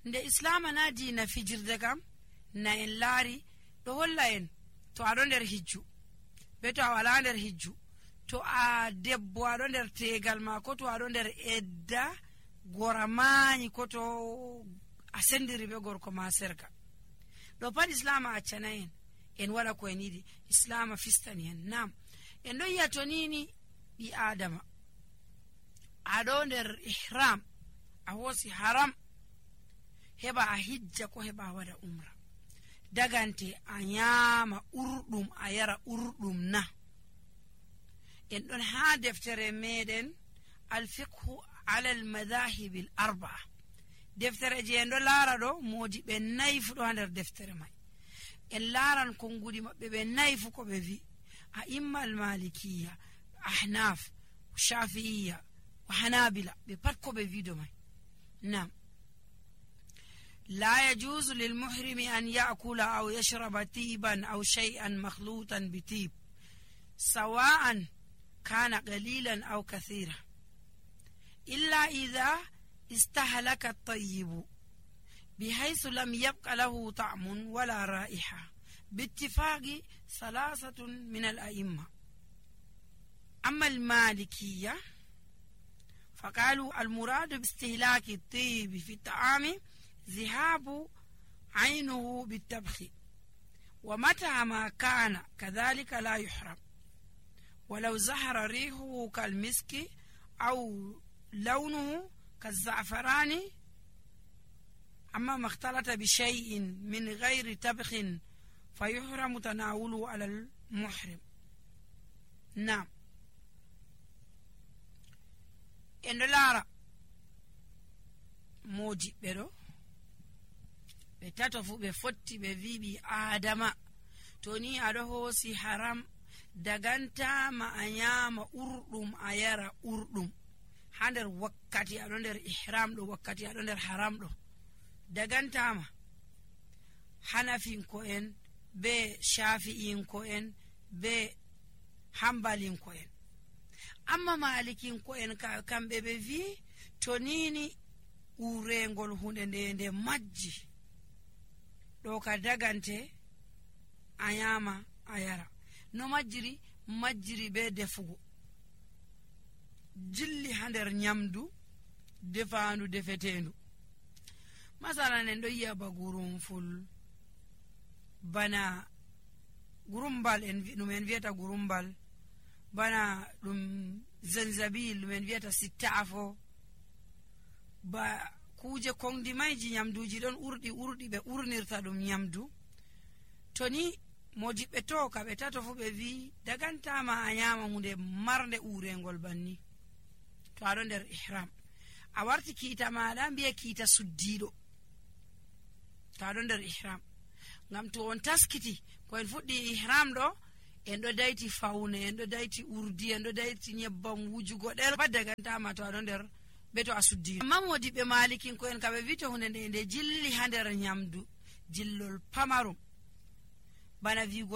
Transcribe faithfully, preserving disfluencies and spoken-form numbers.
nde islama na diina fijirde kam na en laari ɗo holla en to aɗo nder hijju be to a wala nder hijju, to a debbo aɗo nder tegal ma, ko to aɗo nder edda gora mañi, ko to a sendiri be gorko ma serga, ɗo pat islama accana en en waɗa ko en yiɗi. islama fistani en. Nam en ɗon yi'a to nini ɓi adama aɗo nder ihram a hosi haram heɓa a hijja ko heɓa a waɗa umra, dagante a nyama urɗum a yara urɗum na. en ɗon ha deftere meɗen alfiqhu ala almadahibi l arbaa, deftere je en ɗo laara ɗo modi ɓe nayi fu ɗo ha nder deftere mai. en laaran konguɗi maɓɓe ɓe nayi fu ko ɓe wi a imma almalikiya, ahnaf, shafi'iya, hanabila, ɓe pat ko ɓe wido mai. nam la yajuzu lilmuhrimi an yakula aw yashraba tiban aw shay'an makhlutan bitib sawa'an kana qalilan aw kathira illa idha istahlaka at-tayyibu بحيث لم يبق له طعم ولا رائحة باتفاق ثلاثة من الأئمة. أما المالكية فقالوا المراد باستهلاك الطيب في الطعام ذهاب عينه بالطبخ، ومتى ما كان كذلك لا يحرم ولو زهر ريحه كالمسك أو لونه كالزعفران. أما ما اختلط بشيء من غير طبخ فيحرم تناوله على المحرم. نعم en ɗo laara moji ɓe ɗo ɓe tato fu ɓe fotti ɓe wi ɓi adama to ni aɗo hoosi haram dagantama a nyama urɗum a yara urɗum ha nder wakkati aɗo nder ihram ɗo, wakkati aɗo nder haram ɗo dagantama. hanafinko en be shafi'inko en be hambalinko en. amma malikinko en kamɓe ɓe wi to nini urengol hunde nde nde majji ɗo ka dagante a nyama a yara. no majjiri majjiri be defugo jilli ha nder nyamdu defandu defetendu. masalan en ɗo yi'a ba gurumful, bana gurumbal en ɗum en wiyata gurumbal, bana ɗum zanzabil ɗum en wiyata sittafo, ba kuje kongdi mayji nyamduji ɗon urɗi urɗi ɓe urnirta ɗum nyamdu. to ni modiɓɓe to ka ɓe tato fu ɓe wi dagantama a nyama hunde marnde urengol banni to aɗo nder ihram. a warti kiita maɗa mbiya kiita suddiɗo to aɗo nder ihram, ngam to on taskiti ko en fuɗɗi ihram ɗo en ɗo dayti fawne, en ɗo dayti urdi, en ɗo dayti nyebbam wujugo ɗel pat dagantama to aɗo nder be to a suddiɗo. amma modiɓɓe malikin ko en kaɓe wi to hunde nde nde jilli ha nder nyamdu jillol pamarum bana wigo